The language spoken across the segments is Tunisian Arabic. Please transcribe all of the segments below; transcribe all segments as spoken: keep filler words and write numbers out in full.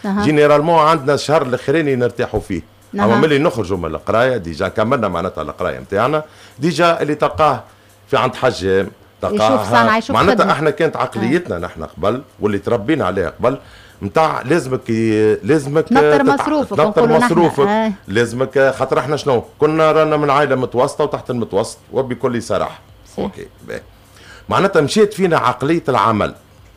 أه. généralement عندنا الشهر الاخراني نرتاحوا فيه. أه. اما ملي نخرجوا من القراية déjà كملنا معناتها القراية نتاعنا، déjà اللي تلقاه في عند حجام. تلقاه معناتها احنا كانت عقليتنا أه. نحن قبل واللي تربينا عليها قبل نتاع لازمك لازمك تنطر مصروفك. تنطر مصروفك آه. لازمك، خاطر احنا شنو كنا رانا من عائلة متوسطه وتحت المتوسط وبكل صراحه. OK، باهي. معناتها مشيت فينا عقلية العمل.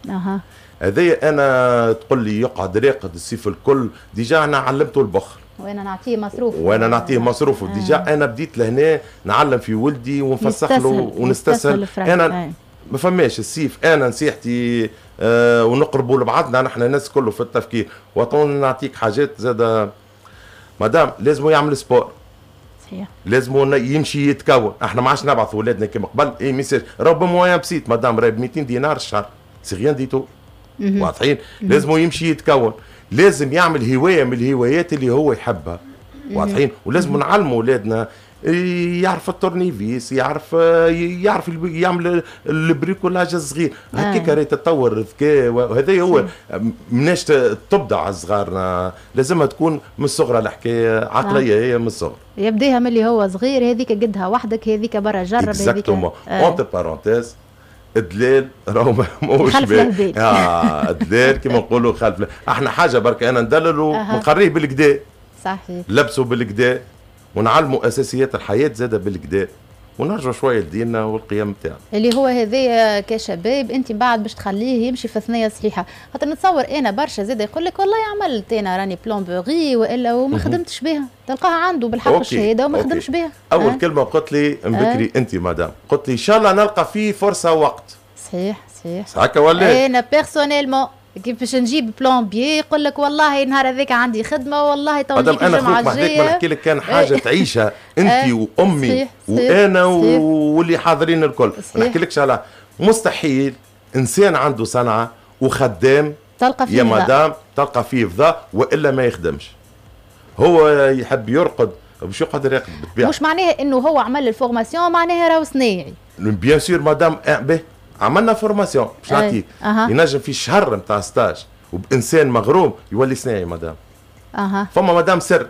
اها هذايا انا تقول لي يقعد راقد الصيف الكل، déjà انا علمته البخل. وانا نعطيه مصروف. وانا نعطيه مصروف. آه. déjà انا بديت لهنا نعلم في ولدي ونفسخ له ونستسهل انا. ما فماش السيف. انا نصيحتي آه ونقربوا لبعضنا نحن الناس كله في التفكير. وطون نعطيك حاجات زاد مادام، لازم يعمل sport. صحيح. لازم يمشي يتكون. احنا ما عادش نبعث اولادنا كما قبل. اي message راهو ب moyen بسيط مادام، راهي ب ميتين دينار الشهر، c'est rien du tout. واضحين؟ لازم يمشي يتكون، لازم يعمل هواية من الهوايات اللي هو يحبها. واضحين؟ ولازم نعلموا اولادنا يعرف التورنيفيس، يعرف يعرف يعمل ال bricolage الصغير هكاك. آه. تطور الذكاء، وهذا هو مناش تبدع صغارنا. لازمها تكون من الصغر الحكايه، عقلية آه. هي من الصغر. يبديها من اللي هو صغير، هذيك قدها وحدك، هذيك برا جرب. هذيك entre parenthèses الدلال راهو ماهوش خلف الهبال. اه الدلال كما نقولوا خلف. احنا حاجة برك، انا ندلل ونقريه بالقدا. صحيح لبسوا بالقدا ونعلموا اساسيات الحياة زاده بالقدا، ونرجع شوية لديننا والقيم بتاعنا. اللي هو هذايا كشباب انت بعد باش تخليه يمشي في ثنيه صحيحه، خاطر نتصور انا برشا زاد يقول لك والله عملت انا راني plomberie والا وما خدمتش بها، تلقاها عنده بالحق الشهادة وما خدمش بها. اول أه؟ كلمة قلت لي بكري أه؟ انت مدام قلت لي ان شاء الله نلقى فيه فرصة وقت. صحيح صحيح هكا ولا؟ انا personnellement كيف باش نجيب plombier يقول لك والله النهار هذاك عندي خدمه، والله تو نجيك الجمعة الجايه. ما نحكي لك كان حاجة تعيشها انت وامي وانا واللي حاضرين الكل، ما نحكي لكش على مستحيل انسان عنده صنعه وخدام تلقى فيه يا مدام تلقى فيه فضاء والا ما يخدمش. هو يحب يرقد باش يقعد راقد بالطبيعه. مش معناها انه هو عمل ال formation معناها راهو صنايعي. bien sûr مدام، به عملنا formation باش نعطيك أه. ينجم في شهر نتاع stage وبانسان مغروم يولي صناعي مدام. اها فما مدام سر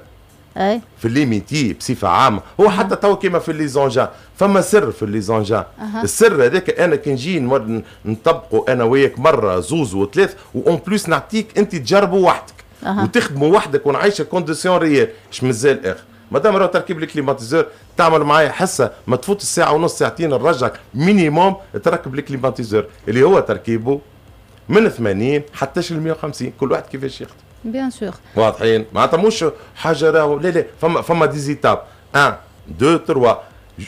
اي في les métiers بصفة عامه، هو أه. حتى تو كيما في les engins، فما سر في les engins. أه. السر هذاك انا كي نجي نطبقه انا وياك مرة زوز وثلاث، و en plus نعطيك انت تجربه وحدك أه. وتخدمه وحدك ونعيشك conditions réelles. اش مازال اخر مادام؟ راهو تركيب ال climatiseur تعمل معايا حصة ما تفوت الساعة ونص، ساعتين، نرجعك minimum تركب ال climatiseur اللي هو تركيبه من ثمانين حتى ل مية وخمسين، كل واحد كيفاش يخدم. bien sûr. واضحين؟ معناتها مش حاجة راهو، لا لا، فما فما des étapes، un deux trois.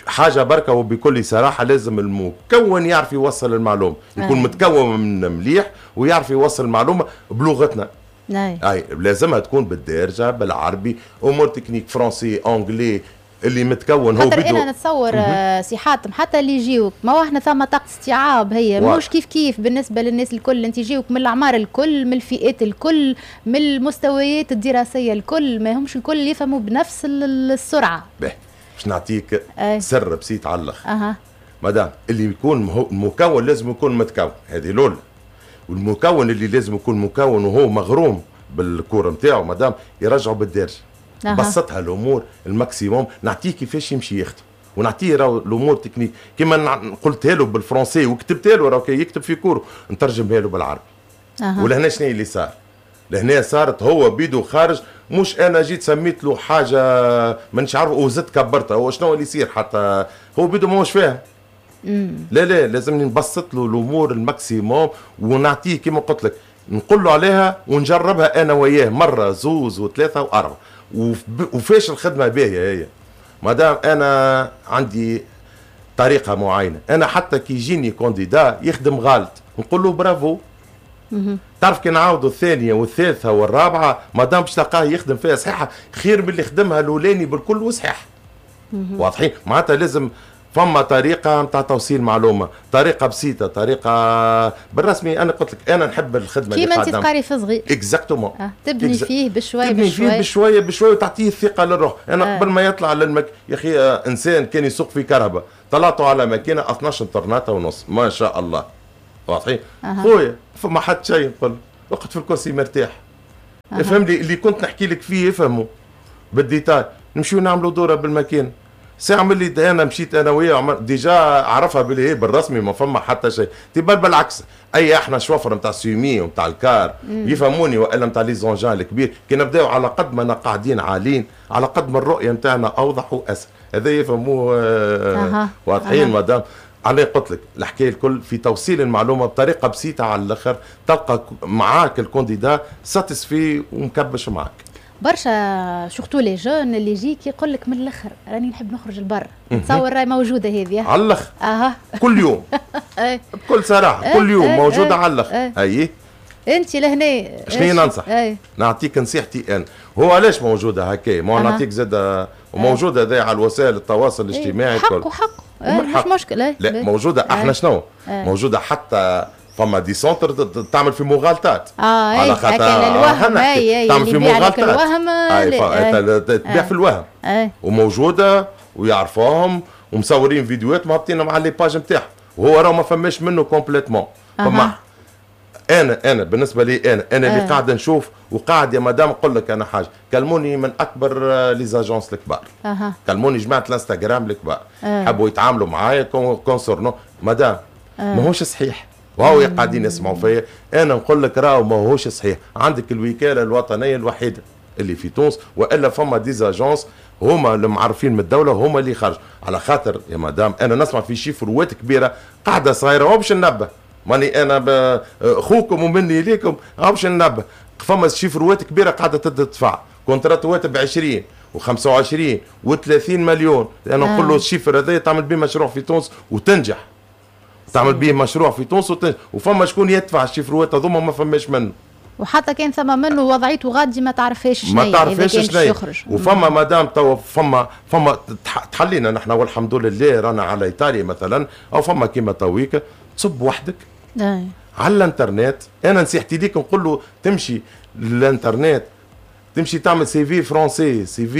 حاجة بركة وبكل صراحه، لازم المكون يعرف يوصل المعلومه، يكون آه. متكون من مليح ويعرف يوصل المعلومة بلغتنا. اي اي لازمها تكون بالدارجه، بالعربي، امور techniques، français، anglais، اللي متكون هو بيدو. انا نتصور آه، سي حاتم حتى اللي يجيوك، ما هو احنا ثم طاقة استيعاب هي مش كيف كيف بالنسبة للناس الكل. انت يجيوك من الاعمار الكل، من الفئات الكل، من المستويات الدراسية الكل، ما همش الكل يفهموا بنفس السرعه. باهي، باش نعطيك أي. سر بسيط على الاخر. اها مادام اللي يكون المكون لازم يكون متكون، هذه الاولى. والمكون اللي لازم يكون مكون وهو مغروم بال cours نتاعو مادام، يرجعوا بالدارجه. أه. بسطها الامور ال maximum، نعطيه كيفاش يمشي يخدم ونعطيه راهو الامور techniques كيما قلتها له بال français وكتبتها له، راهو كي يكتب في cours نترجمها له بالعربي. أه. ولهنا شنو اللي صار؟ لهنا صارت هو بيدو خارج، مش انا جيت سميت له حاجة مانيش عارف وزدت كبرتها. هو شنو اللي يصير؟ حتى هو بيدو ماهوش فاهم. لا لا، لازمني نبسط له الامور ال maximum ونعطيه كيما قلت لك، نقول له عليها ونجربها انا وياه مرة زوز وثلاثة واربعه. وفاش الخدمة باهيه هي مادام انا عندي طريقه معينه. انا حتى كي يجيني candidat يخدم غلط نقول له برافو. تعرف كي نعاودوا الثانية والثالثة والرابعة مادام باش تلقاه يخدم فيها صحيحه خير من اللي خدمها الاولاني بالكل وصحيح. واضحين؟ معناتها لازم فما طريقه نتاع توصيل معلومه، طريقه بسيطه، طريقه بالرسمي. انا قلت لك انا نحب الخدمة. كيما انت تقاري في صغير. exactement. آه. تبني فيه بشوي. تبني بشوي. فيه بشوية بشوية وتعطيه الثقة للروح. انا آه. قبل ما يطلع للمك يا اخي، آه انسان كان يسوق في كرهبه طلعته على ماكينة اثناش طرناطه ونص، ما شاء الله. واضحين؟ خويا فما حد شيء نقول اقعد في الكرسي مرتاح. افهم لي اللي كنت نحكي لك فيه، افهموا بال détail. نمشيو نعملوا دوره بالماكينه. ساعة ملي انا مشيت انا وياه déjà عرفها باللي هي بالرسمي ما فما حتى شيء. تبان بالعكس، اي احنا شوفر نتاع semi ونتاع ال car يفهموني، والا نتاع les engins الكبير، كي نبداو على قد ما قاعدين عاليين على قد ما الرؤية نتاعنا اوضح واسهل. هذا يفهموه آه واضحين مدام. عليه قلت لك الحكاية الكل في توصيل المعلومة بطريقة بسيطة على الاخر، تلقى معاك ال candidat satisfait ومكبش معاك. برشا surtout les jeunes اللي يجيك يقول لك من الاخر راني نحب نخرج لبرا، تصور راهي موجودة هذه على الاخر. اها كل يوم بكل صراحة كل يوم موجودة على الاخر. اي انت لهنا شنو ننصح؟ أي. نعطيك نصيحتي انا، هو علاش موجودة هكا؟ ما نعطيك زاد وموجودة هذا على وسائل التواصل الاجتماعي. حقه حقه مش مشكلة. لا موجودة احنا شنو؟ موجودة حتى فما des centres تعمل في مغالطات. اه على خاطر الوهم، اي تعمل في مغالطات، الوهم تبيع في الوهم. أي. وموجودة ويعرفوهم ومصورين فيديوهات مهبطينهم على les pages نتاعهم، وهو راه ما فماش منه complètement. فما انا انا بالنسبة لي انا انا اللي قاعد نشوف وقاعد يا مدام نقول لك انا حاجة، كلموني من اكبر les agences الكبار. أه. كلموني جماعة الانستغرام الكبار، حبوا يتعاملوا معايا concernant madame. أه. ماهوش صحيح، وهو قاعدين يسمعوا فيا. انا نقول لك راهو ماهوش صحيح. عندك الوكالة الوطنية الوحيدة اللي في تونس، والا فما des agences هما اللي معرفين من الدولة هما اللي خرجوا. على خاطر يا مدام انا نسمع في chiffre وات كبيرة قاعدة صغيرة، هو باش ننبه ماني انا خوكم ومني ليكم، باش ننبه فما chiffre وات كبيرة قاعدة تدفع contrat وات ب عشرين وخمسة وعشرين وثلاثين مليون. انا نقول له ال chiffre هذا تعمل به مشروع في تونس وتنجح، تعمل به مشروع في تونس وتنجح، وفما شكون يدفع ال chiffre وات هذوما ما فماش منه. وحتى كان ثم منه وضعيته غادي ما تعرفهاش شنو، ما تعرفهاش شنو. وفما مدام تو فما فما تحلينا نحن والحمد لله رانا على ايطاليا مثلا، او فما كيما تويك تصب وحدك أي. على الانترنت. انا نصيحتي ليك نقول له تمشي للانترنت، تمشي تعمل CV français، CV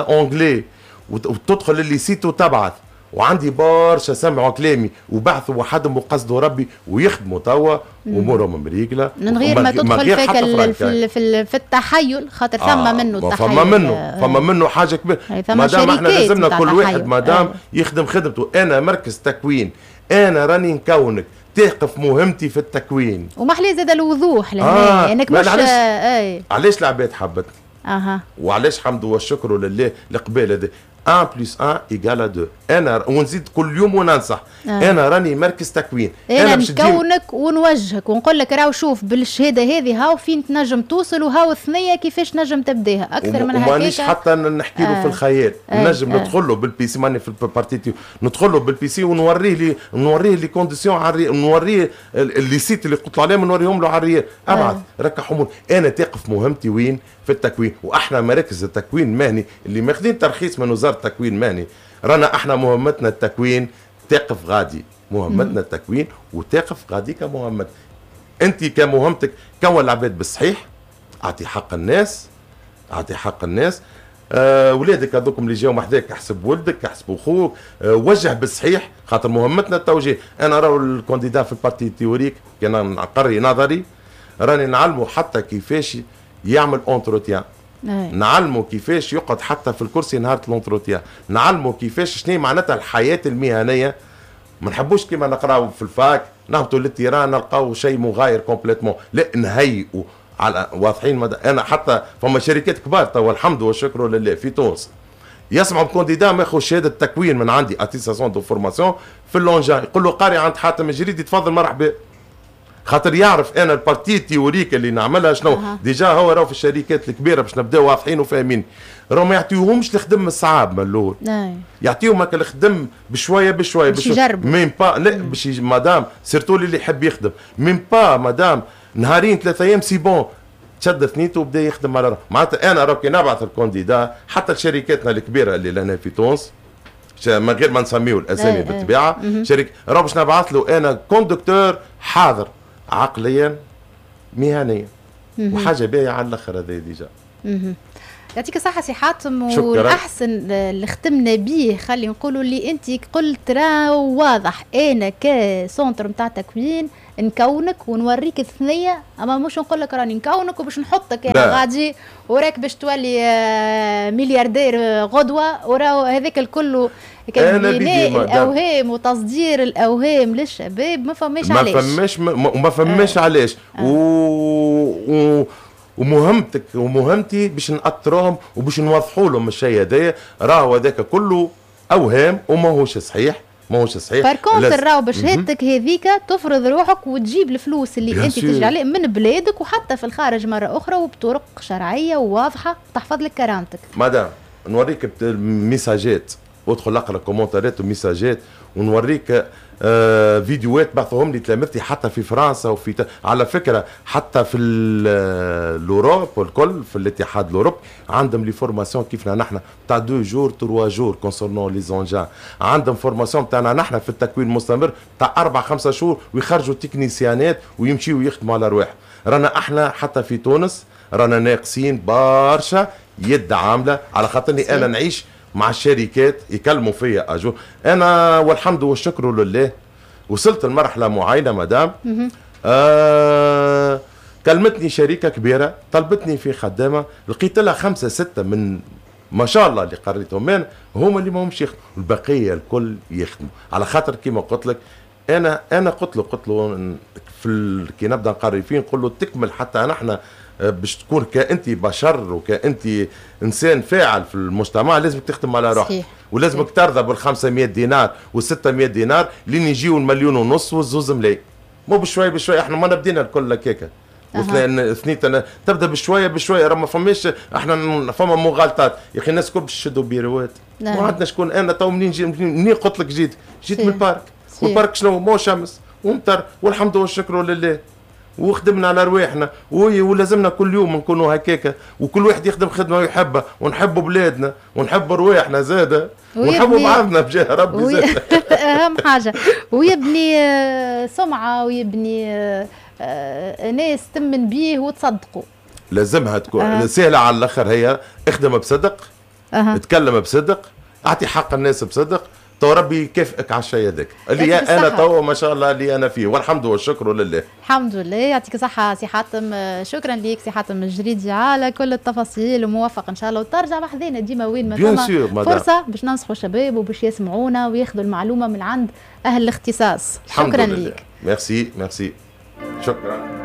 anglais، وتدخل les sites وتبعث. وعندي برشا سمعوا كلامي وبعثوا وحدهم وقصدوا ربي ويخدموا توا امورهم مريقله من غير ما تدخل فيك في في, في التحيل، خاطر ثم آه منه التحيل، فما منه فما منه حاجة كبيرة. مادام احنا لازمنا كل واحد مادام يخدم خدمته. انا مركز تكوين، انا راني نكونك، تقف مهمتي في التكوين. ومحلي زاد الوضوح لهنا آه. انك مش علاش آه. علاش العباد حبتني اها، وعلاش حمد والشكر لله القبال هذا واحد plus واحد égale اثنين. انا ونزيد كل يوم وننصح آه. انا راني مركز تكوين، انا باش نكونك ونوجهك ونقول لك راهو شوف بالشهادة هذه هاو فين تنجم توصل وهاو الثنية كيفاش تنجم تبداها اكثر من هكاك. ومانيش حتى نحكي له آه. في الخيال آه. نجم آه. ندخل له بال PC، ماني في ال partie ندخل له بال PC ونوريه لي نوريه les conditions على نوريه les sites اللي قلت له عليهم نوريهم له على ال réel. ابعث آه. ركح امور. انا تقف مهمتي وين؟ في التكوين. واحنا مراكز التكوين المهني اللي ماخذين ترخيص من وزارة التكوين المهني، رانا احنا مهمتنا التكوين تقف غادي، مهمتنا التكوين وتقف غادي كمهمت. انت كمهمتك كون العباد بالصحيح، اعطي حق الناس، اعطي حق الناس. آه ولادك هذوكم اللي جاو محذاك احسب ولدك، احسب اخوك، آه وجه بالصحيح، خاطر مهمتنا التوجيه. انا راهو ال candidat في ال partie théorique كان نقري نظري، راني نعلمه حتى كيفاش يعمل entretien، نعلمه كيفاش يقعد حتى في الكرسي نهار l'entretien، نعلمه كيفاش شنو معناتها الحياة المهنية. ما نحبوش كيما نقراو في ال fac نهبطوا لل terrain نلقاو شيء مغاير complètement، لا نهيئوا على واضحين. مد... انا حتى فما شركات كبار توا الحمد والشكر لله في تونس يسمعوا ب candidat ماخذ شهادة تكوين من عندي attestation de formation في l'engin، يقول له قاري عند حاتم الجريدي تفضل مرحبا، خاطر يعرف انا ال partie théorique اللي نعملها شنو. أه. déjà هو راهو في الشركات الكبيرة باش نبداو واضحين وفاهمين، راهو ما يعطيوهمش الخدم الصعاب من الاول، يعطيهم هكا الخدم بشوية بشوية باش يجربوا même pas. لا باش madame surtout اللي يحب يخدم même pas madame نهارين ثلاثة ايام c'est bon تشد ثنيته وبدا يخدم على روحه. معناتها انا راهو كي نبعث ال candidat حتى لشركاتنا الكبيرة اللي لنا في تونس من غير ما نسميو الاسامي بالطبيعة، شركة راهو باش نبعث له انا conducteur حاضر عقليا مهنيا وحاجه باهيه على الاخر هذا déjà. يعطيك الصحة سي حاتم، والاحسن اللي ختمنا به خلي نقولوا اللي انت قلت راه واضح، انا ك centre نتاع تكوين نكونك ونوريك الثنية، اما مش نقول لك راني نكونك وباش نحطك انا غادي وراك باش تولي ملياردير غدوه، وراهو هذاك الكل كان بناء الاوهام وتصدير الاوهام للشباب. ما فماش علاش، ما فماش ما فماش علاش. آه. و... و... ومهمتك ومهمتي باش نأطروهم وباش نوضحوا لهم الشيء هذايا، راهو هذاك كله اوهام وماهوش صحيح، ماهوش صحيح. par contre راهو بشهادتك هذيك تفرض روحك وتجيب الفلوس اللي انت تجري عليه من بلادك وحتى في الخارج مرة اخرى، وبطرق شرعية وواضحة تحفظ لك كرامتك. مدام نوريك ميساجات، وادخل اقرا كومنتارات وميساجات، ونوريك آه فيديوهات بعثوهم لي تلامذتي حتى في فرنسا وفي ت... على فكرة حتى في l'Europe والكل، في الاتحاد الاوروبي عندهم les formations كيفنا نحن تاع deux jours trois jours concernant les engins، عندهم formation تاعنا نحن في التكوين المستمر تاع اربع خمسة شهور ويخرجوا تكنيسيانات ويمشيوا يخدموا على رواحهم. رانا احنا حتى في تونس رانا ناقصين برشا يد عامله، على خاطرني انا نعيش مع الشركات يكلموا فيا اجو انا، والحمد والشكر لله وصلت لمرحلة معينة مدام. آه كلمتني شركة كبيرة طلبتني في خدامه، لقيت لها خمسة ستة من ما شاء الله اللي قريتهم انا هما اللي ما همش يخدموا، البقية الكل يخدموا. على خاطر كيما قلت لك انا انا قلت له قلت له في كي نبدا نقري فيه نقول له تكمل حتى نحن باش تكون كأنت بشر وكأنت إنسان فاعل في المجتمع لازمك تخدم على روحك، ولازمك ترضى بال خمسمية دينار وال ستمية دينار لين يجيو المليون ونص والزوز ملايين. مو بشوي بشوي، احنا ما بدينا الكل هكاكا واثنين اثنين تبدا بشوية بشوية، راه ما فماش احنا فما مغالطات يا اخي. الناس الكل باش يشدوا بيروات، ما عندنا شكون. انا تو منين جي منين قلت لك جيت جيت من ال parc، وال parc شنو مو شمس ومطر والحمد والشكر لله، وخدمنا على رواحنا ولازمنا كل يوم نكونوا هكاكا، وكل واحد يخدم خدمة ويحبها، ونحبوا بلادنا ونحبوا رواحنا زاده ونحبوا بعضنا بجاه ربي وي... زاده اهم حاجة، ويبني سمعه ويبني ناس تمن بيه وتصدقوا. لازمها تكون أه. سهلة على الاخر، هي اخدم بصدق، أه. اتكلم بصدق، اعطي حق الناس بصدق، تو ربي يكافئك على الشيء هذاك اللي انا تو ما شاء الله اللي انا فيه، والحمد والشكر لله. الحمد لله، يعطيك الصحة سي حاتم، شكرا ليك سي حاتم الجريدي على كل التفاصيل، وموفق ان شاء الله، وترجع بحذانا ديما وين ما ثم فرصة باش ننصحوا الشباب وباش يسمعونا وياخذوا المعلومة من عند اهل الاختصاص. شكرا ليك. merci merci، شكرا.